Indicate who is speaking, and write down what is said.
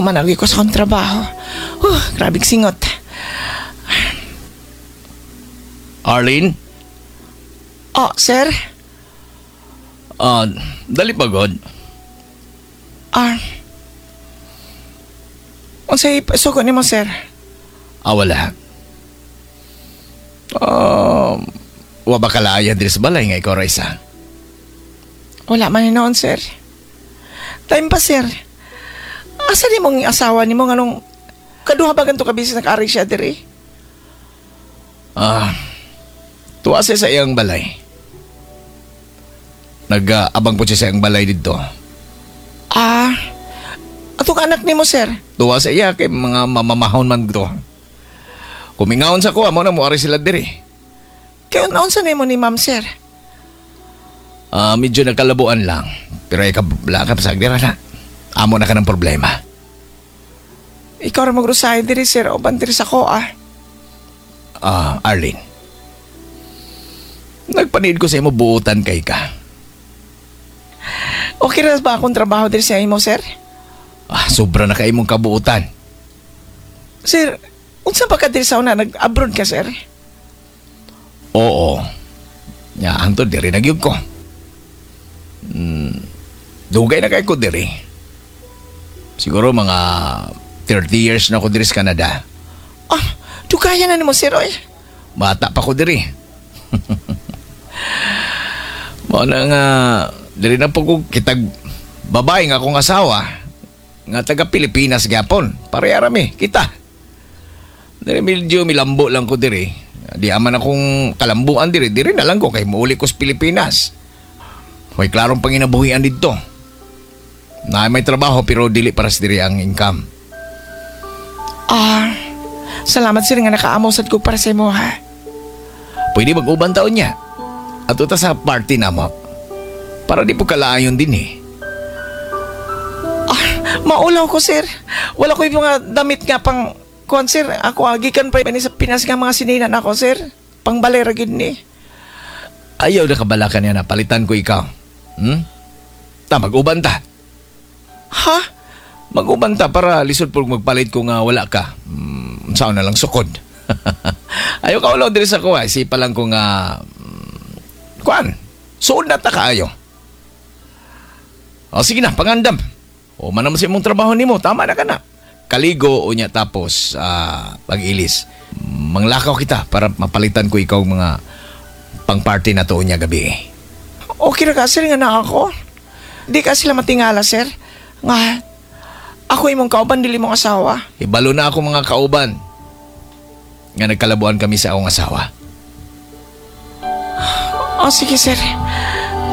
Speaker 1: Humanagi ko sa akong trabaho. Grabe singot.
Speaker 2: Arlene?
Speaker 1: Oh, sir?
Speaker 2: Ah, dali pa god.
Speaker 1: Ah. Unsay sugo nimo, sir?
Speaker 2: Ah, wala. Wa ba kalaya diri sa balay nga ikaw ra isa?
Speaker 1: Wala man noon, sir. Time pa, sir. Asa ni mong asawa nimo, nganong kaduha ba ganto ka busy nag-ari siya diri?
Speaker 2: Ah, tuwa siya sa iyang balay. Nag-abang po siya sa iyang balay dito.
Speaker 1: Ah, atong anak nimo, sir?
Speaker 2: Tuwa sa iya kay mga mamamahon man to. Kumingaon sa kuha mo na mo ari sila diri.
Speaker 1: Kay unsa nimo ni ma'am, sir?
Speaker 2: Ah, medyo nagkalabuan lang. Pero ay kabla ka sa dira na. Amo na ka ng problema.
Speaker 1: Ikaw ra magrusahay diri, sir, o diri sa ko ah.
Speaker 2: Ah, Arlene. Nagpaniid ko sa imo, buutan kay ka.
Speaker 1: Okay ra ba akong trabaho diri sa imo, sir?
Speaker 2: Ah, sobra na kay imong kabuutan.
Speaker 1: Sir, unsa pa ka diri sa una, nag-abroad ka, sir?
Speaker 2: Oo. Nya hangtod diri na gyud ko. Dugay na kay ko diri. Siguro mga 30 years na ko diri sa Canada.
Speaker 1: Ah, dugaya na nimo, sir, oy.
Speaker 2: Bata pa ko diri. Mao na nga diri na po ko kitag babae nga akong asawa nga taga Pilipinas gyapon. Pareha rami kita. Diri medyo milambo lang ko diri. Di aman akong kalambuan diri, diri na lang ko kay muuli ko sa Pilipinas. May klarong panginabuhian didto. Na may trabaho pero dili para sa diri ang income.
Speaker 1: Ah, salamat, sir, nga nakaamo sad ko para sa imo ha.
Speaker 2: Pwede mag-uban taon niya. Ato ta sa party na mo. Para di po kalaayon din eh.
Speaker 1: Ah, maulaw ko, sir. Wala ko yung mga damit nga pang kuan, sir. Ako agikan pa ni sa Pinas nga mga sininan ako, sir. Pang balera gid ni.
Speaker 2: Ayaw na kabalakan niya na palitan ko ikaw. Ta, mag-uban ta.
Speaker 1: Ha?
Speaker 2: Mag-uban ta para lisod po magpalit ko nga wala ka. Saan na lang sukod. Ayaw ka ulaw diri sa kuha. Isipa lang ko nga kuan. Suod na ta kaayo. O sige na, pangandam. O man naman sa imong trabaho nimo, tama na ka na. Kaligo o niya tapos pag-ilis. Manglakaw kita para mapalitan ko ikaw mga pang-party na to niya gabi.
Speaker 1: Okay ra ka, sir, nga na ako. Di ka sila matingala, sir. Nga, ako imong kauban, dili mong asawa.
Speaker 2: Ibalo na ako mga kauban nga nagkalabuan kami sa akong asawa.
Speaker 1: Oh, sige, sir.